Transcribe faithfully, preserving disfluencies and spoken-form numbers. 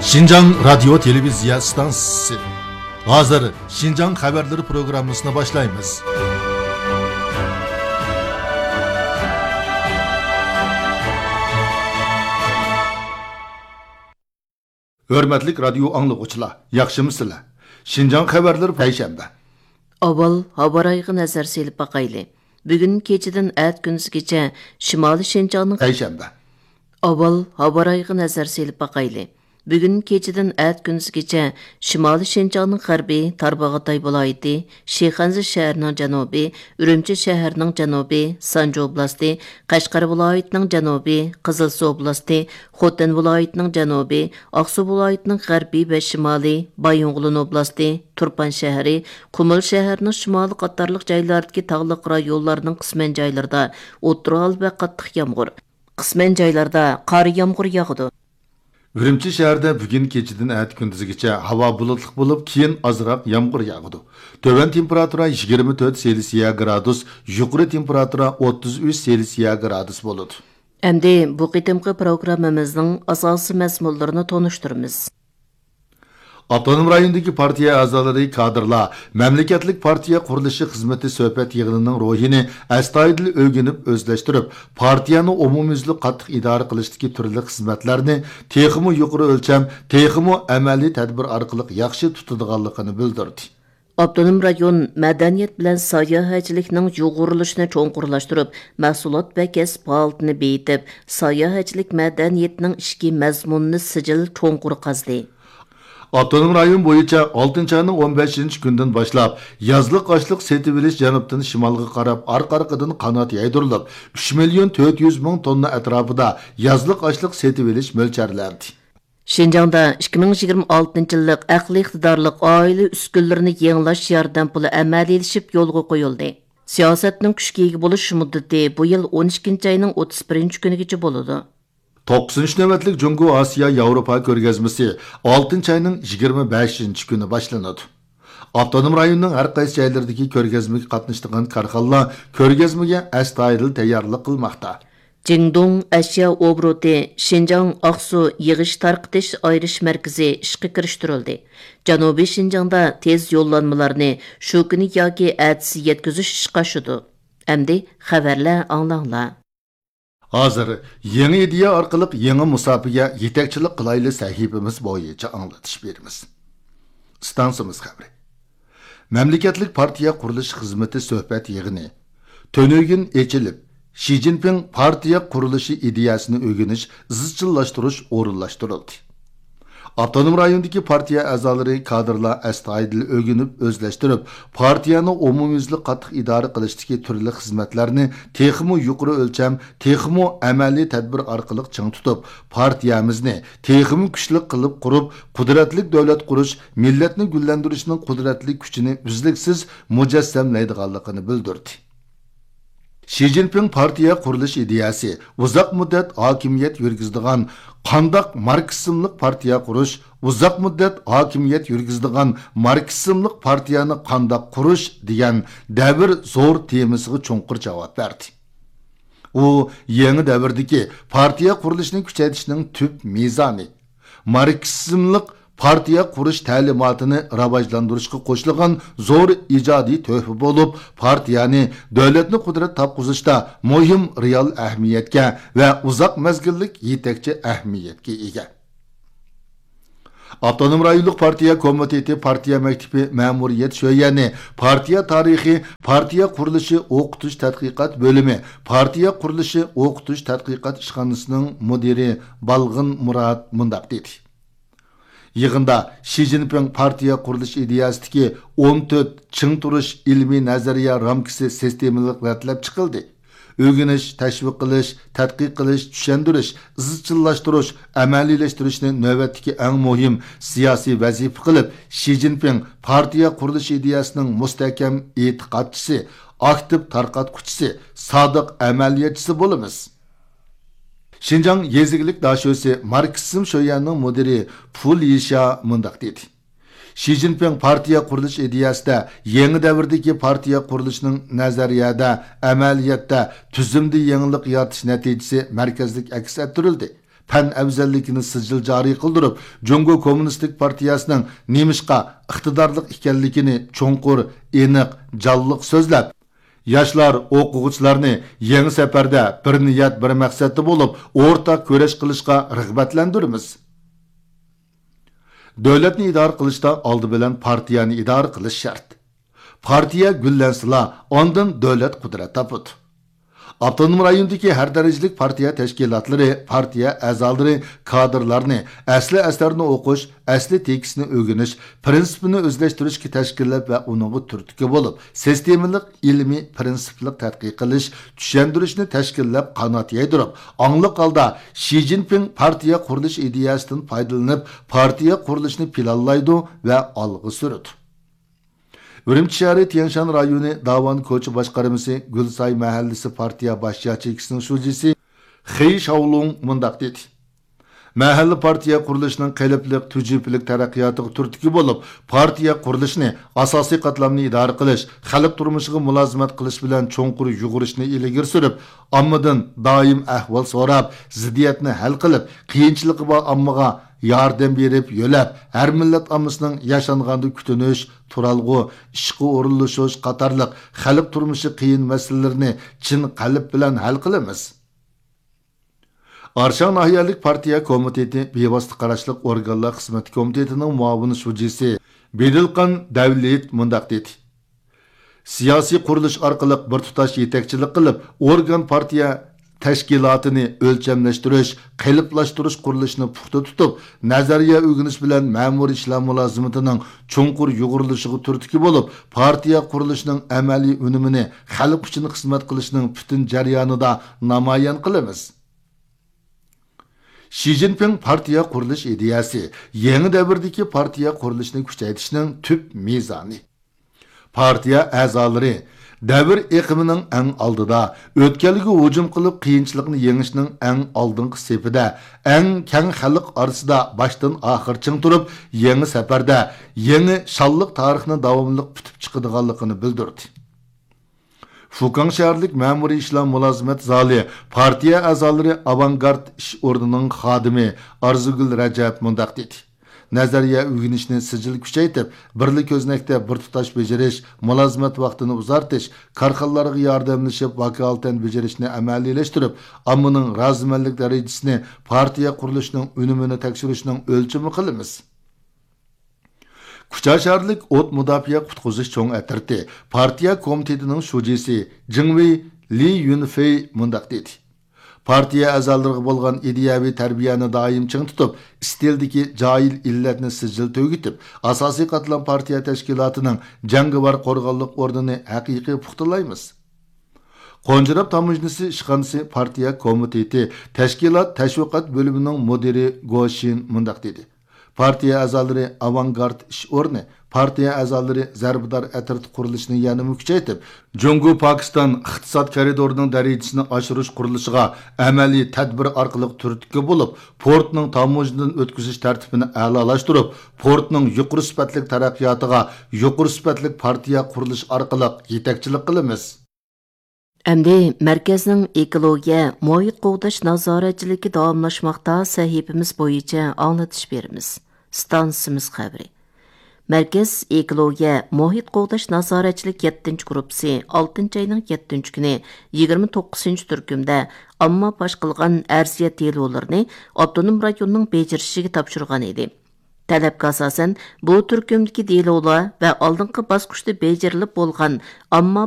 شىنجاڭ رادىيو تېلېۋىزىيە ئىستانسىسى. ھازىر شىنجاڭ خەۋەرلىرى پروگراممىسىنى باشلايمىز. ھۆرمەتلىك رادىيو ئاڭلىغۇچىلار، ياخشىمۇسىلەر؟ شىنجاڭ خەۋەرلىرى پەيشەنبە. ئاۋۋال ھاۋارايىغا نەزەر سېلىپ باقايلى. بۈگۈن كېچىدىن ئەتە كۈندۈزگىچە شىمالىي شىنجاڭنىڭ پەيشەنبە. ئاۋۋال ھاۋارايىغا نەزەر سېلىپ باقايلى. بۈگۈن كېچىدىن ئەتە كۈندۈزگىچە شىمالىي شىنجاڭنىڭ غەربى، تارباغاتاي ۋىلايىتى، شىخەنزە شەھىرىنىڭ جەنۇبى، ئۈرۈمچى شەھىرىنىڭ جەنۇبى، سانجى ئوبلاستى، قەشقەر ۋىلايىتىنىڭ جەنۇبى، قىزىلسۇ ئوبلاستى، خوتەن ۋىلايىتىنىڭ جەنۇبى، ئاقسۇ ۋىلايىتىنىڭ غەربى ۋە شىمالى، بايىنغولىن ئوبلاستى، تۇرپان شەھىرى، قۇمۇل شەھىرىنىڭ شىمالى قاتارلىق جايلاردىكى تاغلىق رايونلارنىڭ قىسمەن جايلىرىدا ئوتتۇرا ھال ۋە قاتتىق يامغۇر، قىسمەن جايلاردا قارا يامغۇر ياغىدۇ. ئۈرۈمچى شەھىرىدە بۈگۈن كېچىدىن ئەتە كۈندۈزگىچە ھاۋا بۇلۇتلۇق بولۇپ، كېيىن ئازراق يامغۇر ياغىدۇ. تۆۋەن تېمپېراتۇرا يىگىرمە تۆت سېلسىيە گرادۇس، يۇقىرى تېمپېراتۇرا ئوتتۇز ئۈچ سېلسىيە گرادۇس بولىدۇ. ئەمدى بۇ قېتىمقى پروگراممىمىزنىڭ ئاساسىي مەزمۇنلىرىنى تونۇشتۇرىمىز. ئاپتونوم رايوندىكى پارتىيە ئەزالىرى، كادىرلار مەملىكەتلىك پارتىيە قۇرۇلۇشى خىزمىتى سۆھبەت يىغىنىنىڭ روھىنى ئەستايىدىل ئۆگىنىپ ئۆزلەشتۈرۈپ، پارتىيەنى ئومۇميۈزلۈك قاتتىق ئىدارە قىلىشتىكى تۈرلۈك خىزمەتلەرنى تېخىمۇ يۇقىرى ئۆلچەم، تېخىمۇ ئەمەلىي تەدبىر ئارقىلىق ياخشى تۇتىدىغانلىقىنى بىلدۈردى. ئاپتونوم رايون مەدەنىيەت بىلەن ساياھەتچىلىكنىڭ يۇغۇرۇلۇشىنى چوڭقۇرلاشتۇرۇپ، مەھسۇلات ۋە كەسىپ ھالىتىنى بېيىتىپ، ساياھەتچىلىك مەدەنىيىتىنىڭ ئىچكى مەزمۇنىنى سىجىل چوڭقۇر قازدى. ئاپتونوم رايون بويىچە ئالتىنچى ئاينىڭ ئون بەشىنچى كۈنىدىن باشلاپ، يازلىق ئاشلىق سېتىۋېلىش جەنۇبتىن شىمالغا قاراپ ئارقا-ئارقىدىن قانات يايدۇرۇلۇپ، ئۈچ مىليون تۆت يۈز مىڭ توننا ئەتراپىدا يازلىق ئاشلىق سېتىۋېلىش مۆلچەرلەندى. شىنجاڭدا ئىككى مىڭ يىگىرمە ئالتىنچى يىللىق ئەقلىي ئىقتىدارلىق ئائىلە ئۈسكۈنىلىرىنى يېڭىلاش ياردەم پۇلى ئەمەلىيلىشىپ يولغا قويۇلدى. سىياسەتنىڭ كۈچكە ئىگە بولۇش مۇددىتى بۇ يىل ئون ئىككىنچى ئاينىڭ ئوتتۇز بىرىنچى كۈنىگىچە بولىدۇ. توققۇزىنچى نۆۋەتلىك جۇڭگو ئاسىيا ياۋروپا كۆرگەزمىسى ئالتىنچى ئاينىڭ يىگىرمە بەشىنچى كۈنى باشلىنىدۇ. ئاپتونوم رايوننىڭ ھەر قايسى جايلىرىدىكى كۆرگەزمىگە قاتنىشىدىغان كارخانىلار كۆرگەزمىگە ئەستايىدىل تەييارلىق قىلماقتا. جىڭدۇڭ ئەشيا ئوبوروتى شىنجاڭ ئاقسۇ يىغىش تارقىتىش ئايرىش مەركىزى ئىشقا كىرىشتۈرۈلدى. جەنۇبىي شىنجاڭدا تېز يوللانمىلارنى شۇ كۈنى ياكى ئەتىسى يەتكۈزۈش ئىشقا ئاشىدۇ. ئەمدى خەۋەرلەر ئاڭلاڭلار. ھازىر يېڭى ئىدىيە ئارقىلىق يېڭى مۇساپىگە يېتەكچىلىك قىلايلى سەھىپىمىز بويىچە ئاڭلىتىش بېرىمىز. ئىستانسىمىز خەۋىرى. مەملىكەتلىك پارتىيە قۇرۇلۇش خىزمىتى سۆھبەت يىغىنى تۈنۈگۈن ئېچىلىپ، شى جىنپىڭ پارتىيە قۇرۇلۇشى ئىدىيەسىنى ئۆگىنىش، ئىزچىللاشتۇرۇش ئورۇنلاشتۇرۇلدى. ئاپتونوم رايوندىكى پارتىيە ئەزالىرى، كادىرلار ئەستايىدىل ئۆگىنىپ ئۆزلەشتۈرۈپ، پارتىيەنى ئومۇميۈزلۈك قاتتىق ئىدارە قىلىشتىكى تۈرلۈك خىزمەتلەرنى تېخىمۇ يۇقىرى ئۆلچەم، تېخىمۇ ئەمەلىي تەدبىر ئارقىلىق چىڭ تۇتۇپ، پارتىيەمىزنى تېخىمۇ كۈچلۈك قىلىپ قۇرۇپ، قۇدرەتلىك دۆلەت قۇرۇش، مىللەتنى گۈللەندۈرۈشنىڭ قۇدرەتلىك كۈچىنى ئۈزلۈكسىز مۇجەسسەملەيدىغانلىقىنى بىلدۈردى. شى جىنپىڭ پارتىيە قۇرۇلۇش ئىدىيەسى ئۇزاق مۇددەت ھاكىمىيەت يۈرگۈزىدىغان قانداق ماركسىزملىق پارتىيە قۇرۇش، ئۇزاق مۇددەت ھاكىمىيەت يۈرگۈزىدىغان ماركسىزملىق پارتىيەنى قانداق قۇرۇش دېگەن دەۋر زور تېمىسىغا چوڭقۇر جاۋاب بەردى. ئۇ يېڭى دەۋردىكى پارتىيە قۇرۇلۇشىنى كۈچەيتىشنىڭ تۈپ مىزانى، ماركسىزملىق پارتىيە قۇرۇش تەلىماتىنى راۋاجلاندۇرۇشقا قوشۇلغان زور ئىجادىي تۆھپە بولۇپ، پارتىيەنى دۆلەتنى قۇدرەت تاپقۇزۇشتا مۇھىم رېئال ئەھمىيەتكە ۋە ئۇزاق مەزگىللىك يېتەكچى ئەھمىيەتكە ئىگە. ئاپتونوم رايونلۇق پارتىيە كومىتېتى پارتىيە مەكتىپى مەمۇرىيەت شۆيەنى، پارتىيە تارىخى، پارتىيە قۇرۇلۇشى ئوقۇتۇش تەتقىقات بۆلۈمى، پارتىيە قۇرۇلۇشى ئوقۇتۇش تەتقىقات ئىشخانىسىنىڭ مۇدىرى بالغىن مۇرات مۇنداق دېدى. يىغىندا شى جىنپىڭ پارتىيە قۇرۇلۇش ئىدىيەسىدىكى ئون تۆت چىڭ تۇرۇش ئىلمىي نەزەرىيە رامكىسى سىستېمىلىق رەتلەپ چىقىلدى. ئۆگىنىش، تەشۋىق قىلىش، تەتقىق قىلىش، چۈشەندۈرۈش، ئىزچىللاشتۇرۇش، ئەمەلىيلەشتۈرۈشنى نۆۋەتتىكى ئەڭ مۇھىم سىياسىي ۋەزىپە قىلىپ، شى جىنپىڭ پارتىيە قۇرۇلۇش ئىدىيەسىنىڭ مۇستەھكەم ئېتىقادچىسى، ئاكتىپ تارقاتقۇچىسى، سادىق ئەمەلىيەتچىسى بولىمىز. شىنجاڭ يېزا ئىگىلىك داشۆسى ماركسىزم شۆيەنىڭ مۇدىرى پۇ لىشيا مۇنداق دېدى. شى جىنپىڭ پارتىيە قۇرۇلۇش ئىدىيەسىدە يېڭى دەۋردىكى پارتىيە قۇرۇلۇشىنىڭ نەزەرىيەدە، ئەمەلىيەتتە، تۈزۈمدە يېڭىلىق يارىتىش نەتىجىسى مەركەزلىك ئەكس ئەتتۈرۈلدى. پەن ئەۋزەللىكىنى سىجىل جارى قىلدۇرۇپ، جۇڭگو كوممۇنىستىك پارتىيەسىنىڭ نېمىشقا ئىقتىدارلىق ئىكەنلىكىنى چوڭقۇر، ئېنىق، جانلىق سۆزلەپ، ياشلار، ئوقۇغۇچىلارنى يېڭى سەپەردە بىر نىيەت، بىر مەقسەتتە بولۇپ، ئورتاق كۈرەش قىلىشقا رىغبەتلەندۈرىمىز. دۆلەتنى ئىدارە قىلىشتا ئالدى بىلەن پارتىيەنى ئىدارە قىلىش شەرت. پارتىيە گۈللەنسىلا، ئاندىن دۆلەت قۇدرەت تاپىدۇ. ئاپتونوم رايوندىكى ھەر دەرىجىلىك پارتىيە تەشكىلاتلىرى، پارتىيە ئەزالىرى، كادىرلارنى ئەسلى ئەسەرنى ئوقۇش، ئەسلى تېكىستنى ئۆگىنىش، پىرىنسىپنى ئۆزلەشتۈرۈشكە تەشكىللەپ ۋە ئۇنىڭغا تۈرتكە بولۇپ، سىستېمىلىق، ئىلمىي، پىرىنسىپلىق تەتقىق قىلىش، چۈشەندۈرۈشنى تەشكىللەپ قانات يايدۇرۇپ، ئاڭلىق ھالدا شى جىنپىڭ پارتىيە قۇرۇلۇش ئىدىيەسىدىن پايدىلىنىپ، پارتىيە قۇرۇلۇشىنى پىلانلايدۇ ۋە ئالغا سۈرىدۇ. ئۈرۈمچى شەھىرى تيەنشان رايونى داۋان كوچا باشقارمىسى گۈلساي مەھەللىسى پارتىيە باش ياچېيكىسىنىڭ شۇجىسى خېي شاۋلۇڭ مۇنداق دېدى: مەھەللە پارتىيە قۇرۇلۇشىنىڭ قېلىپلىق، تۈجۈپىلىك تەرەققىياتىغا تۈرتكە بولۇپ، پارتىيە قۇرۇلۇشىنى، ئاساسىي قاتلامنى ئىدارە قىلىش، خەلق تۇرمۇشىغا مۇلازىمەت قىلىش بىلەن چوڭقۇر يۇغۇرۇشنى ئىلگىرى سۈرۈپ، ئاممىدىن دائىم ئەھۋال سوراپ، زىددىيەتنى ھەل قىلىپ، قىيىنچىلىقى بار ئاممىغا ياردەم بېرىپ يۆلەپ، ھەر مىللەت ئاممىسىنىڭ ياشانغاندا كۈتۈنۈش، تۇرالغۇ، ئىشقا ئورۇنلىشىش قاتارلىق خەلق تۇرمۇشى قىيىن مەسىلىلىرىنى چىن قەلب بىلەن ھەل قىلىمىز. ئارشاڭ ناھىيەلىك پارتىيە كومىتېتى بىۋاسىتە قاراشلىق ئورگانلار خىزمىتى كومىتېتىنىڭ مۇئاۋىن شۇجىسى بېدىلقان دەۋلىت مۇنداق دېدى: سىياسىي قۇرۇلۇش ئارقىلىق بىر تۇتاش يېتەكچىلىك قىلىپ، ئورگان پارتىيە تەشكىلاتىنى ئۆلچەملەشتۈرۈش، قېلىپلاشتۇرۇش قۇرۇلۇشىنى پۇختا تۇتۇپ، نەزەرىيە ئۆگىنىش بىلەن مەمۇرىي ئىشلار مۇلازىمىتىنىڭ چوڭقۇر يۇغۇرۇلۇشىغا تۈرتكە بولۇپ، پارتىيە قۇرۇلۇشىنىڭ ئەمەلىي ئۈنۈمىنى خەلق ئۈچۈن خىزمەت قىلىشنىڭ پۈتۈن جەريانىدا نامايان قىلىمىز. شى جىنپىڭ پارتىيە قۇرۇلۇش ئىدىيەسى يېڭى دەۋردىكى پارتىيە قۇرۇلۇشىنى كۈچەيتىشنىڭ تۈپ مىزانى. پارتىيە ئەزالىرى دەۋر ئېقىمىنىڭ ئەڭ ئالدىدا، ئۆتكەلگە ھۇجۇم قىلىپ، قىيىنچىلىقنى يېڭىشنىڭ ئەڭ ئالدىنقى سېپىدە، ئەڭ كەڭ خەلق ئارىسىدا باشتىن ئاخىر چىڭ تۇرۇپ، يېڭى سەپەردە، يېڭى شانلىق تارىخنى داۋاملىق پۈتۈپ چىقىدىغانلىقىنى بىلدۈردى. فۇكاڭ شەھەرلىك مەمۇرىي ئىشلار مۇلازىمەت زالى پارتىيە ئەزالىرى ئاۋانگارت ئىش ئورنىنىڭ خادىمى ئارزۇگۈل رەجەپ مۇنداق دېدى: نەزەرىيە ئۆگىنىشنى سىجىل كۈچەيتىپ، بىرلا كۆزنەكتە بىر تۇتاش بېجىرىش، مۇلازىمەت ۋاقتىنى ئۇزارتىش، كارخانىلارغا ياردەملىشىپ، ۋاكالىتەن بېجىرىشنى ئەمەلىيلەشتۈرۈپ، ئاممىنىڭ رازىمەنلىك دەرىجىسىنى پارتىيە قۇرۇلۇشىنىڭ ئۈنۈمىنى تەكشۈرۈشنىڭ ئۆلچىمى قىلىمىز. كۇچا شەھەرلىك ئوت مۇداپىئە قۇتقۇزۇش چوڭ ئەترىتى پارتىيە كومىتېتىنىڭ شۇجىسى جىڭۋېي لى يۈنفېي مۇنداق دېدى: پارتىيە ئەزالىرىغا بولغان ئىدىيەۋى تەربىيەنى دائىم چىڭ تۇتۇپ، ئىستىلدىكى جاھىل ئىللەتنى سىجىل تۈگىتىپ، ئاساسىي قاتلام پارتىيە تەشكىلاتىنىڭ جەڭگىۋار قورغانلىق ئورنىنى ھەقىقىي پۇختىلايمىز. قونجىراپ تاموژنىسى ئىشخانىسى پارتىيە كومىتېتى تەشكىلات تەشۋىقات بۆلۈمىنىڭ مۇدىرى گو شىن مۇنداق دېدى: پارتىيە ئەزالىرى ئاۋانگارت ئىش ئورنى، پارتىيە ئەزالىرى زەربىدار ئەترىتى قۇرۇلۇشىنى يەنىمۇ كۈچەيتىپ، جۇڭگو پاكىستان ئىقتىساد كارىدورىنىڭ دەرىجىسىنى ئاشۇرۇش قۇرۇلۇشىغا ئەمەلىي تەدبىر ئارقىلىق تۈرتكە بولۇپ، پورتنىڭ تاموژنىدىن ئۆتكۈزۈش تەرتىپىنى ئەلالاشتۇرۇپ، پورتنىڭ يۇقىرى سۈپەتلىك تەرەققىياتىغا يۇقىرى سۈپەتلىك پارتىيە قۇرۇلۇش ئارقىلىق يېتەكچىلىك قىلىمىز. ئەمدى مەركەزنىڭ ئېكولوگىيە، مۇھىت قوغداش نازارەتچىلىكى داۋاملاشماقتا سەھىپىمىز بويىچە ئاڭلىتىش بېرىمىز. ئىستانسىمىز خەۋىرى. مەركەز ئېكولوگىيە، مۇھىت قوغداش نازارەتچىلىك يەتتىنچى گۇرۇپپىسى ئالتىنچى ئاينىڭ يەتتىنچى كۈنى يىگىرمە توققۇزىنچى تۈركۈمدە ئامما پاش قىلغان ئەرزىيەت دېلولىرىنى ئاپتونوم رايوننىڭ بېجىرىشىگە تاپشۇرغان ئىدى. تەلەپكە ئاساسەن، بۇ تۈركۈمدىكى دېلولار ۋە ئالدىنقى باسقۇچتا بېجىرىلىپ بولغان ئامما